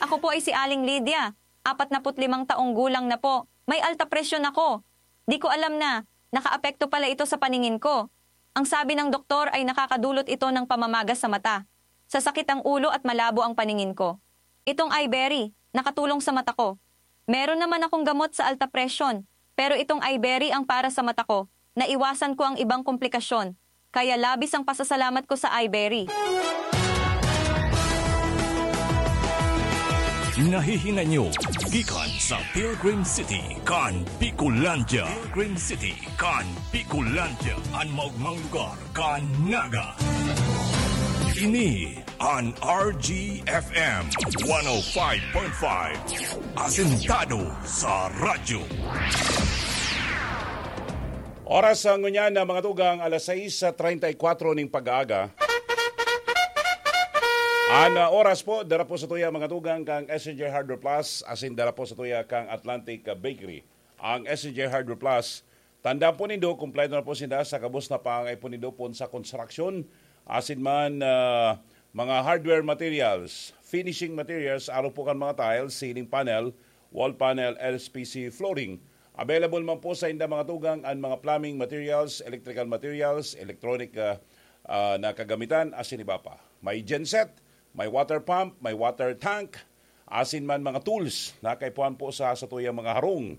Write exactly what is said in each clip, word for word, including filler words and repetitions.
Ako po ay si Aling Lydia, apatnaput limang taong gulang na po. May alta presyon ako. Di ko alam na nakaapekto pala ito sa paningin ko. Ang sabi ng doktor ay nakakadulot ito ng pamamaga sa mata, sasakit ang ulo at malabo ang paningin ko. Itong Iberry, nakatulong sa mata ko. Meron naman akong gamot sa alta presyon, pero itong Iberry ang para sa mata ko. Naiwasan ko ang ibang komplikasyon. Kaya labis ang pasasalamat ko sa Iberry. Nahihinanyo gikan sa Pilgrim City kan Bicolandia. Pilgrim City kan Bicolandia, an maogmang lugar kan Naga. Ini an R G F M one oh five point five, asentado sa radyo. Oras sa ngunyan na mga tugang, alas sais treinta y cuatro ning pag-aaga. An ah, oras po, dara po sa tuya mga tugang kang S N J Hardware Plus, asin dara po sa tuya kang Atlantic ah, Bakery. Ang S N J Hardware Plus, tandaan po nindo, kumpleto na po sinda sa gabos na pangangaipo nindo pon sa konstruksyon, asin man ah, mga hardware materials, finishing materials, aro po kan mga tiles, ceiling panel, wall panel, L S P C flooring. Available man po sa inda mga tugang an mga plumbing materials, electrical materials, electronic ah, ah, na kagamitan, asin iba pa. May genset, may water pump, may water tank, asin man mga tools na kaipuhan po sa satuyang mga harong.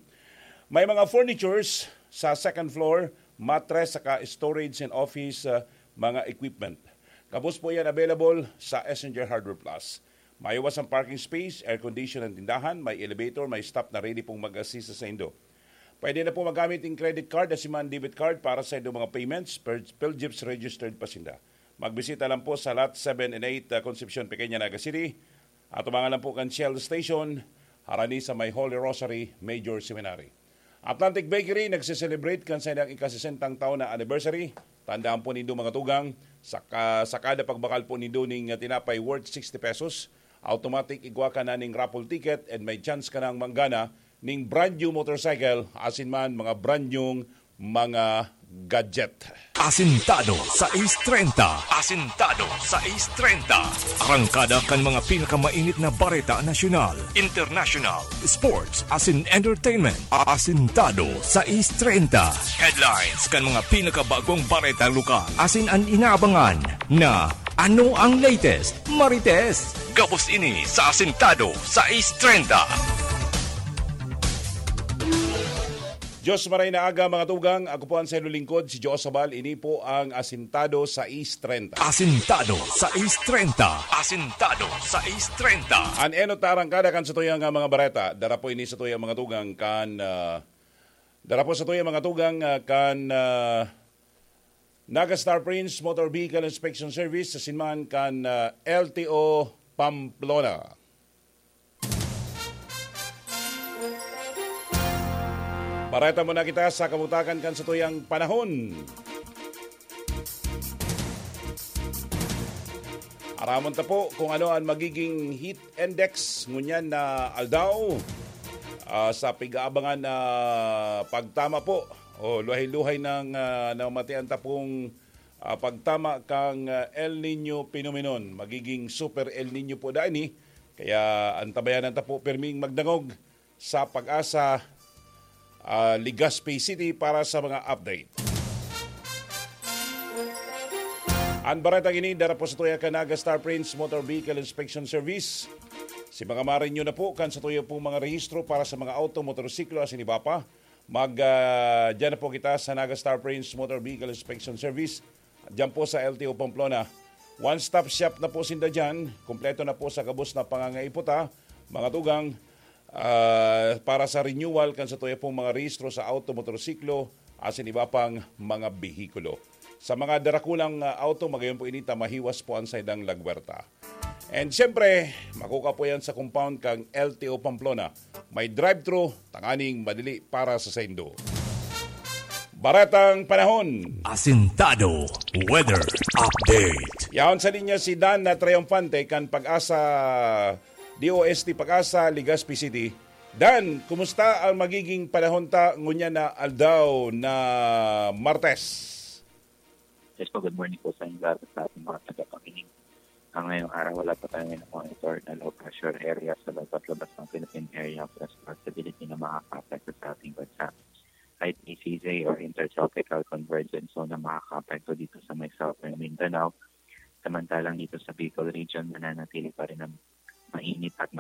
May mga furnitures sa second floor, mattress saka storage and office ah, mga equipment. Gabos po yan available sa S N J Hardware Plus. May iwas ang parking space, air condition ang tindahan, may elevator, may staff na ready pong mag-assist sa indo. Pwede na po magamit ang credit card at siman debit card para sa indo mga payments, per Philjeeps registered pa sinda. Magbisita lang po sa Lot seven and eight, ah, Concepcion, Pequeña, Naga City. Atubangan lang po kan Shell Station, harani sa may Holy Rosary Major Seminary. Atlantic Bakery nagse-celebrate kan saindang ikasesentang taon na anniversary. Tandaan po nindo mga tugang, sa, ka, sa kada pagbakal po nindo ning tinapay worth sixty pesos, automatic igwa ka na ning raffle ticket and may chance ka nang manggana ning brand new motorcycle asin man mga brand new mga gadget. Asintado sa East treinta. Asintado sa East treinta. Arangkada kan mga pinakamainit na bareta nasyonal, international, sports, asin entertainment. Asintado sa East treinta. Headlines kan mga pinakabagong bareta lokal. Asin an inaabangan na ano ang latest, Marites? Gabos ini sa Asintado sa East treinta. Diyos maray na aga, mga tugang. Ako po ang sayo lingkod, si Joe Sabal. Ini po ang Asintado sa East treinta. Asintado sa East treinta. Asintado sa East treinta. An enot na arangkada kan sa tuyang ah, mga bareta. Dara po ini sa tuyang mga tugang kan ah, dara po sa tuyang mga tugang ah, kan ah, Naga Star Prince Motor Vehicle Inspection Service sa sinman kan ah, L T O Pamplona. Bareta muna kita sa kabutakan kan satuyang panahon. Aramon ta po kung ano ang magiging heat index ngunyan na aldaw. Ah, sa pig-aabangan na pagtama po o luhay-luhay ng ah, namatian ta pong ah, pagtama kang ah, El Nino phenomenon. Magiging super El Nino po daan ni. Kaya antabayanan ta po pirming magdangog sa Pag-asa, ah, Legazpi City para sa mga update. An baretang ini dara po sa tuya kan Naga Star Prince Motor Vehicle Inspection Service. Si mga marinyo na po kan sa tuya pong mga rehistro para sa mga auto, motorsiklo, asin iba pa. Mag, ah, dyan na po kita sa Naga Star Prince Motor Vehicle Inspection Service. Diyan po sa L T O Pamplona. One-stop shop na po sinda dyan. Kompleto na po sa gabos na pangangaiputa, mga tugang, ah, para sa renewal kan sa tuya pong mga rehistro sa auto, motorsiklo, asin iba pang mga behikulo. Sa mga darakulang ah, auto, magayon po inita, mahiwas po ang saindang lagwerta. And siyempre, makukuha po yan sa compound kang L T O Pamplona. May drive-thru, tanganing madali para sa saindo. Baretang panahon. Asintado Weather Update. Yaon sa linya si Dan na Triumphante kan Pag-asa, D O S T Pag-asa, Legazpi City. Dan, kumusta ang magiging panahon ta ngunyan na aldaw na Martes? Yes po, good morning po sa inyo lahat at sa ating mga tagapakinig. Ngayong araw, wala pa tayong monitor na low pressure area sa loob at labas ng Philippine Area of Responsibility na makakaapekto sa ating bansa. Kahit E C Z or Intertropical Convergence Zone na makakaapekto dito sa may Southern Mindanao, samantalang dito sa Bicol Region, mananatili pa rin ang mainit at